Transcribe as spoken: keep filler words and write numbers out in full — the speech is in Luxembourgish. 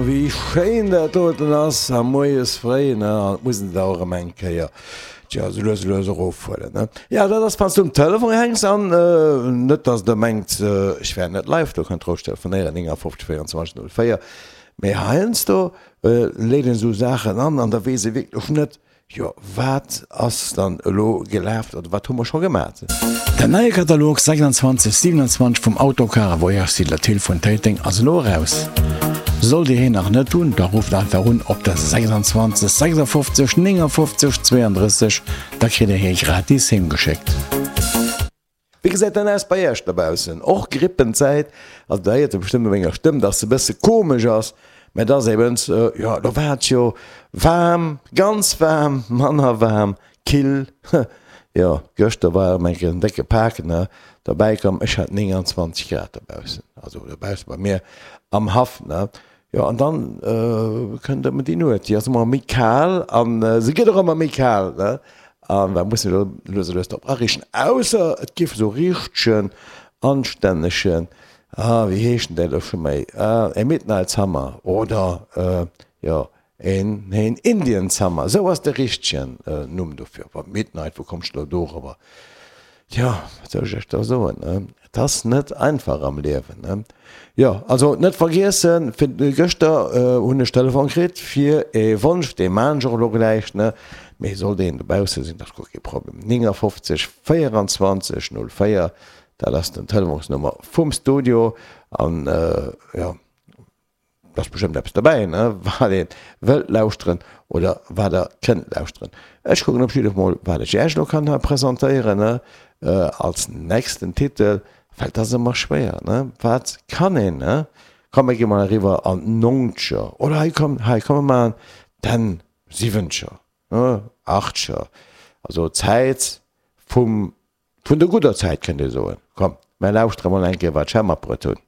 Wéi schéin dat doten ass a moies fréi, ne? An et muss een et och erëm eng Kéier, tja, sou lues a lues erofhuelen, ne? Ja, dat ass, wann s du um Telefon hänks an net, dass Der mengt, ech wär net live, do kënnt roueg telefonéieren, neunundfünfzig vierundzwanzig null vier. Mee heiansdo leet een esou Saachen an an da weess ee wierklech net, jo, wat ass dann elo gelaf oder wat hu mer scho gemat? Den neie Katalog sechsundzwanzeg siewenundzwanzeg vum Autocar a Voyage Dealer Thill vun Téiteng ass elo eraus. Sollt Dir hien nach net hunn, da rufft einfach un op der sechsundzwanzeg sechsundfünfzeg neunundfünfzeg zweiunddrësseg, da kritt Dir hie gratis heem geschéckt. Wéi gesäit dann aus bei Iech dobaussen? Och Grippenzäit? Also der héiert jo bestëmmt u menger Stëmm, dass se e bësse komesch ass, mä et ass eben, jo, do war et jo waarm, ganz waarm, manner waarm, kill, jo, gëschter war erëm eng Kéier en décke Pak, ne, derbäi komm, ech hat neunundzwanzeg Grad dobaussen, also dobausse bei mir am Haff, ne. Jo, an dann kënnt ëmmer déi Nuet, déi ass ëmmer méi kal an se gëtt och ëmmer méi kal, ne. An da muss een elo lues a lues drop ariichten, ausser et giff esou richtegen, anstännegen, ah, wéi heescht denn dat elo scho méi, ah, e Midnight Summer oder, jo, een, een Indian Summer, esou ass de richtegen Numm dofir. Wa Midnight, wou kommst de elo dorobber? Tjo, wat soll ech iech da soen, ne? Et ass net einfach am Liewen, ne? Jo, also net vergiessen, fir gëschter hunn ech Telefon kritt fir ee Wonsch, dee maan ech och elo gläich, ne? Mee sollt een dobausse sinn, dat ass guer kee Problem. neunundfünfzig vierundzwanzig null vier, dat ass den Telefonsnummer vum Studio an, jo. Et ass bestëmmt eppes dobäi, ne, wat ee wëllt lauschteren oder wat der kënnt lauschteren. Ech kucken op jidde Fall mol, wat ech Iech elo kann hei presentéieren, ne, als nächsten Titel, well et ass ëmmer schwéier, ne, wat kann een, ne. Komm, mir gi mol eriwwer an d'Nonzeger, oder hei, komm, hei, komm, mir maachen d'Enn Siwwenzeger, ne, Achtzeger, also d'Zäit vum, vun der gudder Zäit, kënnt ee soen. Komm, mir lauschtere mol eng Kéier, wat ech hei matbruet hunn.